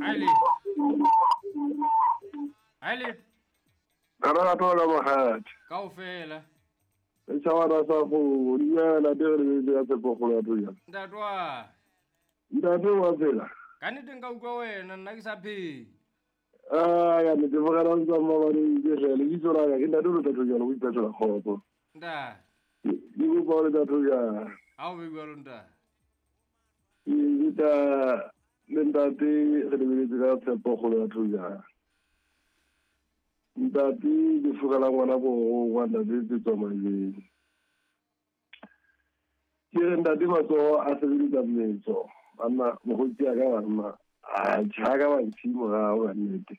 Ale. Ale. Lerato la mogatša. Kaofela. Setšhabana sa go dumela te re lebetse ka tshepogolo ya Thojana. Ntate wa. Ntate wa phela. Ka nnete nka utlwa wena nna ke sa phele. A ya nnete bogela ntsa mmabaneng ke hle lebitso la ka ke ntate o leta Thojana o ipetlela kgotso. Ntate. Ke kopa o leta Thojana. A o be jwalo ntate. Ke leta le ntate re lebeletse ka tshepogolo ya Thojana. Ntate ke fugela ngwana borongwa ntate tse tswa maleng. Ke re ntate matsoho a sebeletsa mmetso. Banna mokgotsi ya ka banna a tjha ka ba ntshi morao ka nnete.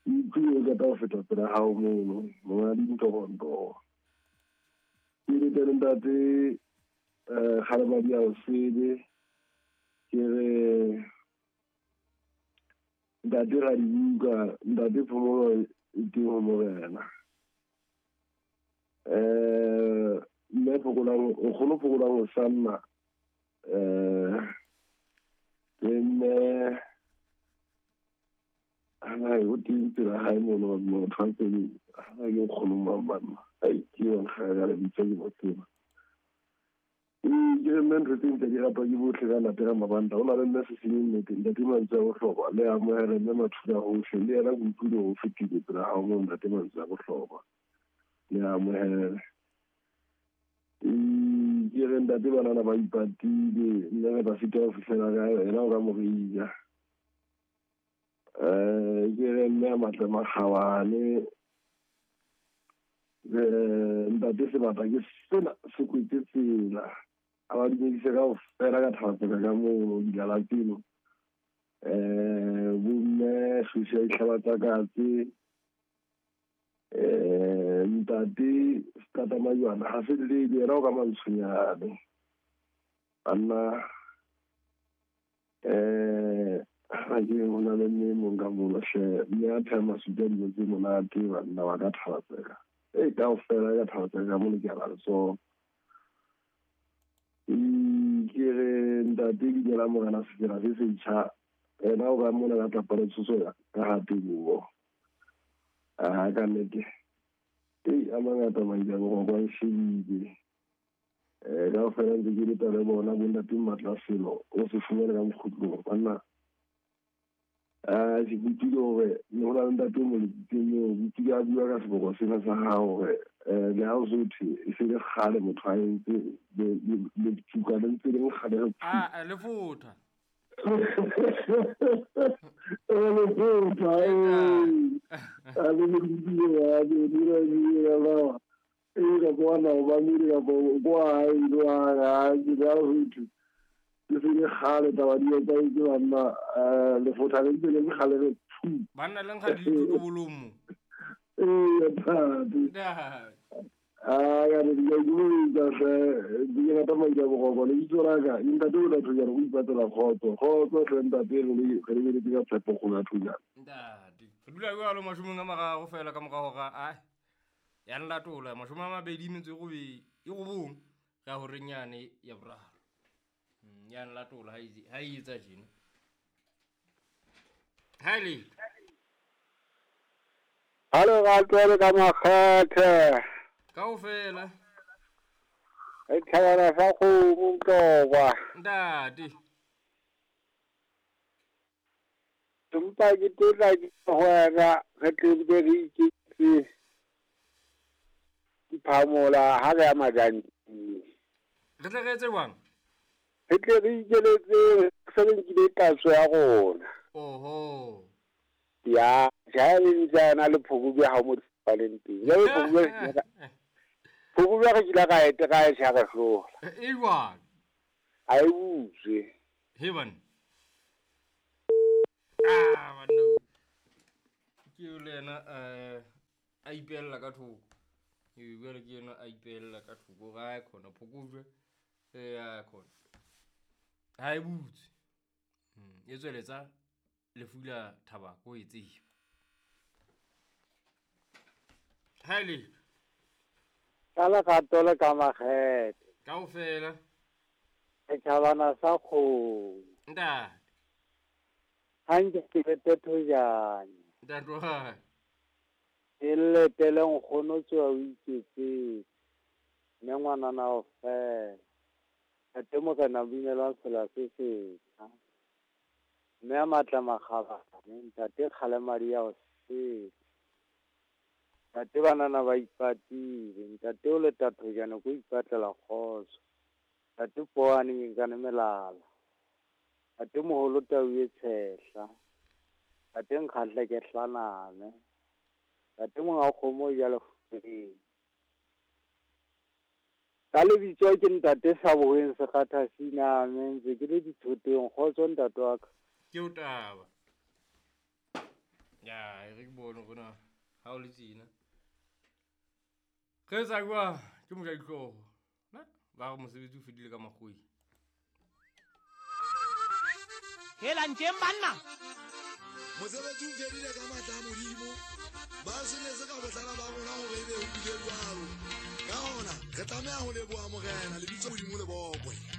Ke utlwile o qeta ho feta pela hao mono monga dintoronto. Ke lete le ntate kgalemadi ya osele. Ke re ntate ra dibuka, ntate phomolo e teng ho morena. Mme phokolang, o kgolo phokolang ho sanna. Le mme ana o teng pela hae mono motho a tsebe ha ke nkgono mang banna. Ai ke yona ga ka lebitso ke mo tseba. Ke re mme ntho tse ntse di ratwa ke bohle ka latela mabanta. Ho na le mme Sesenyi nnete, ntate mantswe a bohlokwa. Le amohele mme Mathula hohle. Le yena ke utlwile ho fetile pela hao moo ntate mantswe a bohlokwa. Le amohele. Ke re ntate banana ba ipatile, mme re ba fita ho fihlela kae, yena o ka morija. Ke re mme a matle makgabane. Ntate sebata ke sena se kwetse tsela. A ba dumedise kaofela ka thabatseka ka mono dilala tseno. Bomme Susi ya dihlaba tsa katse. Ntate Tata Majwana ha se le yena o ka mantshonyane. Banna ha ke ho na le mme mong ka mono hle, mme a pheha masupi a dijo tse monate banna ba ka thabatseka. E kaofela ka thabatseka ka mono ke a ba letsoho. Ke re ntate dumela morena sefela se setjha. Ena o ka mona ka tlapa le tshoso ya ka ha teboho. A ka nnete. A mangata maile a boroko a nshebile. Kaofela ntse ke leta le bona bo ntate Matla Selo o se fumane ka mokgutlong banna. Ke kutlwile hore ne ho na le ntate o mo letsitseng moo, ke utlwile a bua ka seboko sena sa hao hore le ha o so thwe e se le kgale motho a entse letsuka le ntse le nkga le re phu. A lefotha. Lefotha, A le mo ditsile ya ke dira dira ba. Ka kwana o ba mire ka kwa hae le wa ha ke ba ho thwe. Ke se le kgale taba di etsahetse banna, lefotha le ntse le nkga le re phu. Banna le nkga dithotobolong mo. Ntate. Ntate. Ka re ke a itumedisa hle, ke rata madi a boroko. Lebitso la ka, ntate o tla Thojana o ipatlela kgotso. Kgotso hle ntate re lebeletse ka tshepo kgolo ya Thojana. Ntate. Re dula jwalo 30 fela ka mora hora a ya nlatola 28 9 re ya horeng yane ya boraro. Ya nlatola ha e etsa tjena. Ha le. Ha le ratwe ka makgethe. Kaofela. E thabana sa kgomo Mtlokwa. Ntate. Empa ke tla ke ho wena re tle be re iketse diphamola ha re ya Majanting. Re tle re etse jwang? Re tle re ikeletse se re nkile tatso ya rona. Oho. Ya, ja le ntse a na le phokojwe ha mo tshwaneng teng. Jwale phokojwe re kile ka ete ka e tjha re hlola. E jwang? A e butswe. He bana. Banna. Ke le yena a ipella ka thoko. Jwale ke yena a ipella ka thoko ga khona phokojwe ya khona. Ha e butswe. E tsweletsa lefu la thabako e tseba. Ha le. Ka lerato le ka makgethe. Kaofela. Setjhabana sa kgomo. Ntate. Hanke ke lete thojane. Ntate wa ka. Ke letele nkgono tsoa o iketsetse. Mme ngwanana o fela. Ntate Morena binelwa sela se setjha. Mme a matla makgabane, ntate kgalemadi ya o sele. Ntate banana ba ipatile, ntate o leta thojane ko ipatlela kgotso. Ntate poane nkane melala. Ntate moholo tau e tshehla. Ntate nkgahle ke hlaname. Ntate monga kgomo o ja lefubeng. Ka lebitso ke ntate Saboeng Sekgatha Siname, ntse ke le dithoteng. Kgotso ntate wa ka. Ke o taba. Ya, e re ke bone gore na ha o le tjena. Re etsa jwang? Ke moja dihlooho. Na ba re mosebetsi o fedile ka makgwei. Helang tjeng banna. Mosebetsi o fedile ka matla a Modimo. Ba senetse ka bohlala ba rona hore ebe ho bile jwalo. Ka hona, re tlameha ho leboha Morena, lebitso Modimo le bokwe.